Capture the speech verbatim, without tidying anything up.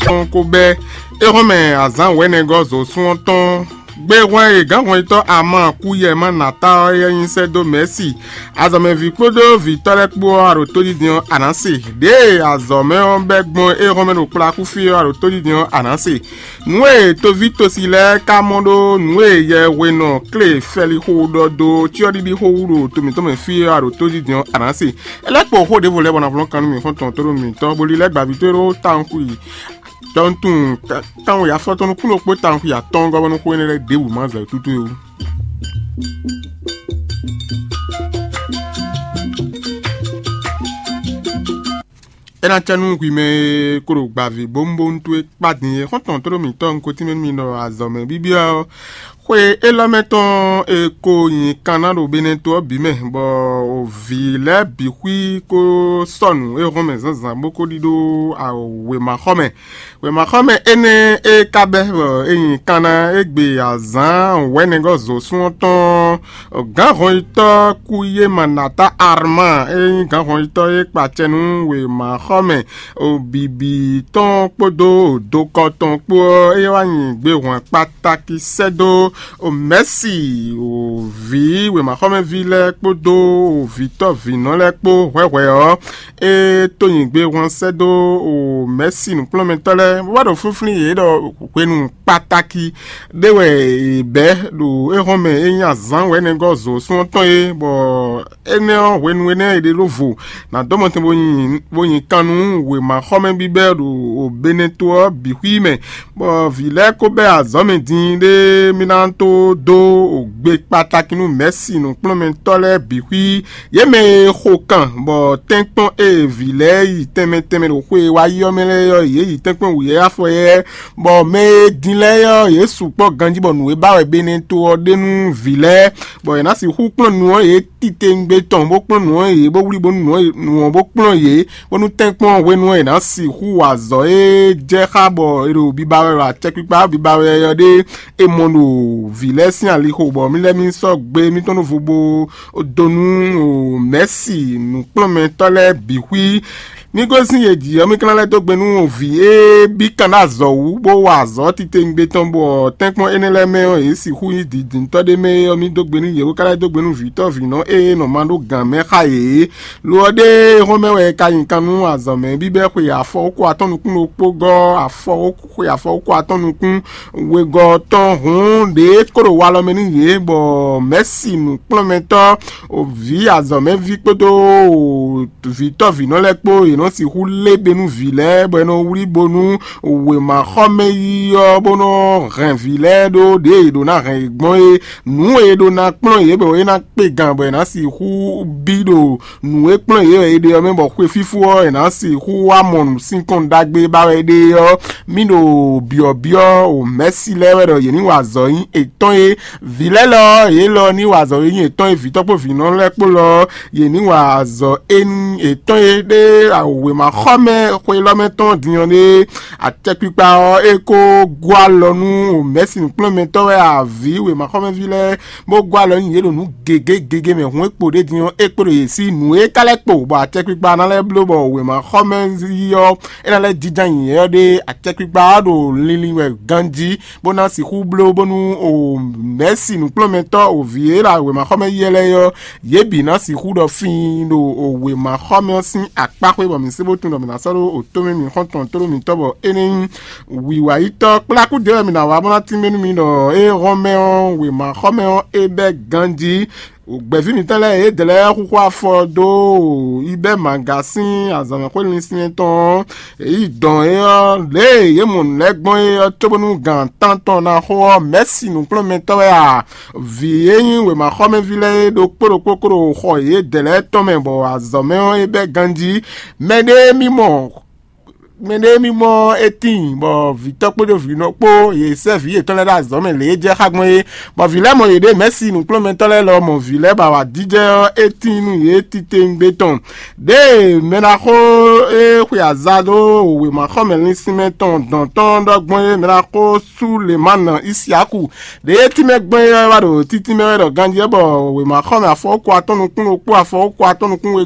tɔn ko bɛ́ éhɔ́nmɛ azǎn wɛ̌nɛgɔ́ zǒsún ɔ́ tɔn. Gbehwan e gǎnhwɛntɔ́ ama kú yɛ má nǎ ta ɔ́ é nyí sɛ́ dó Mɛ̌si, azɔ̌mɛví kpódó vǐtɔ́ lɛ́ɛ kpó ɔ́, a ɖo tójijɛ ɔ́, a nǎ se. Ɖěe azɔ̌ mɛ ɔ́ bɛ́ gbɔn éhɔ́nmɛ ɖo kplá kú fí ɔ́, a ɖo tójijɛ ɔ́, a nǎ se. Nǔ e toví tosi lɛ́ɛ ka mɔ ɖó nǔ e yɛ hwenɔ klé fɛlixo ɖɔ dó cyɔ́ɖiɖi xó wú ɖo to mǐtɔn mɛ fí ɔ́, a ɖo tójijɛ ɔ́, a nǎ se. É lɛ́ kpo xó ɖěvo lɛ́ɛ bɔ ná vlɔ́n kan nú mì xɔ́ntɔn tó ɖo mǐtɔn, bó lílɛ́ gbavítɔ́ e ɖó tawun xwi tɔntun tawun yafɔtɔn nukúnnú kpó tawun xwi atɔ́ɔ́ngɔ́ bɔ nú xó énɛ́ lɛ́ɛ ɖěbǔ ma zɛ tútú é wú. É ná cɛ nú hwi mɛ e ko ɖo gbavǐ bónúbónú towe kpá din é. Xɔ́ntɔn tó ɖo mǐtɔn un ko tínmɛ nú mi ɖɔ azɔ̌ mɛ bíbí ɔ́, xwe élɔ́ mɛ tɔn e ko nyi kanna ɖo Benɛto ɔ́ bǐ mɛ, bɔ vǐ lɛ́ɛ bǐ xwí kó sɔ́ nǔ e hɔn mɛ zǎnzǎn bó kó ɖidó wěmaxɔmɛ. Wěmaxɔmɛ énɛ́ e ka bɛ́ bɔ é nyi kanna égbé azǎn wɛ̌nɛgɔ́ zǒsún ɔ́ tɔn, gǎnhɔnyitɔ́ Kuyémanata Arman e nyí gǎnhɔnyitɔ́ e kpa acɛ nú wěmaxɔmɛ bǐbí tɔn kpódó dokɔ tɔn kpó ɔ́, é wá nyi gbehwan kpátákí sɛ́ dó Mɛ̌si, vǐ wěmaxɔmɛví lɛ́ɛ kpódó vǐtɔ́ vǐnɔ lɛ́ɛ kpó hwɛhwɛ ɔ́, é tó nyi gbehwan sɛ́ dó Mɛ̌si nǔkplɔ́nmɛtɔ́ lɛ́ɛ, bó wá ɖo flínflín yě ɖɔ hwenu kpátákí ɖé wɛ è bɛ̌ ɖo éhɔ́nmɛ e nyí azǎn wɛ̌nɛgɔ́ zǒsún ɔ́ tɔn é, bɔ énɛ́ ɔ́, hwenu énɛ́ è ɖe ɖó vo ná dɔ́ mɔtɛn bó nyi bó nyi kan nú wěmaxɔmɛ bíbɛ́ ɖo Beneto ɔ́ bǐ xwí mɛ, bɔ vǐ lɛ́ɛ ko bɛ́ azɔ̌ mɛ din ɖé mì ná tó dó gbe kpatáki nú mɛ̌si nǔkplɔ́nmɛtɔ́ lɛ́ɛ bǐ xwí. Yě mɛ e xo kan bɔ tɛ́nkpɔ́n e vǐ lɛ́ɛ yi tɛnmɛ tɛnmɛ ɖo xwe e wá yi ɔ́ mɛ lɛ́ɛ ɔ́, yě yi tɛ́nkpɔ́n wǔyɛ́yɛ́ afɔyɛ́yɛ́, bɔ mɛ e din lɛ́ɛ ɔ́, yě sukpɔ́ ganjí bɔ nǔ e ba wɛ Beneto ɔ́ ɖe nú vǐ lɛ́ɛ, bɔ è nǎ sixú kplɔ́n nǔ ɔ́ yě titewungbe tɔn, bó kplɔ́n nǔ ɔ́ yě, bó wlí bónú nǔ ɔ́ nǔ ɔ́ bó kplɔ́n yě, bónú tɛ́nkpɔ́n hwenu ɔ́ è nǎ sixú wa azɔ̌ e jɛ xá bɔ è ɖo biba wɛ ɖo acɛkpikpa biba wɛ ɔ́ ɖe è mɔ ɖo vǐ lɛ́ɛ sín alixo, bɔ mì lɛ́ mì sɔ́ gbe mítɔn ɖó vo bó dó nú mɛ̌si nǔkplɔ́nmɛtɔ́ lɛ́ɛ bǐ xwí. Ní gosín yě jí ɔ́, mì ka ná lɛ́ dó gbe nú vǐ e bí kan ɖó azɔ̌ wú, bó wa azɔ̌ titewungbe tɔn, bɔ tɛ́nkpɔ́n énɛ́ lɛ́ɛ mɛ ɔ́, yě sixú nyí dǐndíntɔ́ ɖé mɛ é ɔ́, mì dó gbe nú yě, bó ka lɛ́ dó gbe nú vǐtɔ́ vǐnɔ e nɔ ma ɖó gǎn mɛ xá yě é. Lo ɔ́ ɖé hɔn mɛ wɛ è ka nyi kan nú azɔ̌ mɛ bíbɛ́ xwe afɔ ko atɔ́ nukún ɖokpó gɔ́ afɔ xwe afɔ ko atɔ́ nukún wegɔ́ tɔn hǔn, ɖě kó ɖo walɔ mɛ nú yě, bɔ mɛ̌si nǔkplɔ́nmɛtɔ́, vǐ azɔ̌mɛví kpódó vǐtɔ́ vǐnɔ lɛ́ɛ kpó, yě nɔ sixú lé be nú vǐ lɛ́ɛ, bɔ è nɔ wlí bónú wěmaxɔmɛ yi ɔ́, bó nɔ hɛn vǐ lɛ́ɛ ɖó ɖěe è ɖǒ ná hɛn yě gbɔn é. Nǔ e è ɖó ná kplɔ́n yě bɔ é ná kpe gan bɔ è nǎ sixú bí ɖo nǔ e kplɔ́n yě wɛ è ɖe ɔ́ mɛ, bɔ xwe fífó ɔ́, è nǎ sixú wá mɔ nǔ sín kɔn ɖagbe ba wɛ é ɖe ɔ́, mì ɖo byɔ̌byɔ́ o mɛ̌si lɛ́ɛ wɛ ɖɔ yě ní wa azɔ̌ nyí yětɔn é. Vǐ lɛ́ɛ lɔ ɔ́, yě lɔ ní wa azɔ̌ e nyí yětɔn é, vǐtɔ́ kpó vǐnɔ lɛ́ɛ kpó lɔ ɔ́, yě ní wa azɔ̌ éní yětɔn é ɖé wěmaxɔmɛ xwe élɔ́ mɛ tɔn din ɔ́ ɖé. Acɛkpikpa ɔ́, é kó gɔ́ alɔ nú mɛ̌si nǔkplɔ́nmɛtɔ́ wɛ avǐ wěmaxɔmɛví lɛ́ɛ, bó gɔ́ alɔ nú yě ɖo nǔ gěgé gěgé mɛ. Hǔn e kpo ɖ'é din ɔ́, é kpo ɖo yě sí nǔ e ka lɛ́ kpo, bɔ acɛkpikpa ná lɛ́ bló bɔ wěmaxɔmɛví ɔ́, é ná lɛ́ jínjɔ́n ayǐ ɔ́ ɖé. Acɛkpikpa ɔ́ ɖo linlin wɛ ganjí, bó ná sixú bló bónú o mɛ̌si nǔkplɔ́nmɛtɔ́ o vǐ e ɖo wěmaxɔmɛ yi lɛ́ɛ ɔ́, yě bǐ ná sixú ɖɔ fíin ɖo o wěmaxɔmɛ ɔ́ sín akpá xwé, bɔ mǐ sé bó tunwun ɖɔ mǐ ná sɔ́ ɖó o tómɛ mǐ xɔ́ntɔn tlóló mǐtɔn bɔ é ní nyí wǐwayítɔ́ kplákú ɖě wɛ mǐ ná wá bó ná tínmɛ nú mi ɖɔ é hɔn mɛ ɔ́, wěmaxɔmɛ ɔ́ é bɛ́ ganjí. Gbɛ̌ví mǐtɔn lɛ́ɛ yědɛɛ lɛ́ɛ xúxú afɔ dó yi bɛ́ maga sín azɔ̌mɛxwé linsin tɔn ɔ́, yě yi dɔn é ɔ́, lě e yě mɔ nǔ lɛ́ɛ gbɔn é ɔ́, cóbónú gan tántɔn ná xo ɔ́, mɛ̌si nǔkplɔ́nmɛtɔ́ wɛ a? Vǐ e nyí wěmaxɔmɛví lɛ́ɛ é ɖokpó ɖokpó kó ɖo xɔ yědɛɛ lɛ́ɛ tɔn mɛ, bɔ azɔ̌ mɛ ɔ́ é bɛ́ ganjí. Mɛɖée mì mɔ mɛɖée mì mɔ é tíin, bɔ vǐtɔ́ kpódó vǐnɔ kpó yě sɛ́ vǐ yětɔn lɛ́ɛ ɖó azɔ̌ mɛ lě e jɛ xá gbɔn é, bɔ vǐ lɛ́ɛ mɔ yěɖée. Mɛ̌si nǔkplɔ́nmɛtɔ́ lɛ́ɛ lɔ mɔ vǐ lɛ́ɛ bɔ awǎjijɛ ɔ́ é tíin nú yě titewungbe tɔn. Ɖěe mɛɖaxó e xwe aza ɖó wěmaxɔmɛ linsinmɛ tɔn dɔn tɔn ɖɔ gbɔn é, mɛɖaxó Sulemana Isiaku ɖě e tínmɛ gbɔn é wá ɖo títínmɛ wɛ ɖɔ ganjí ɔ́, bɔ wěmaxɔmɛ afɔwókɔ atɔ́ nukún ɖokpó afɔwókɔ atɔ́ nukún we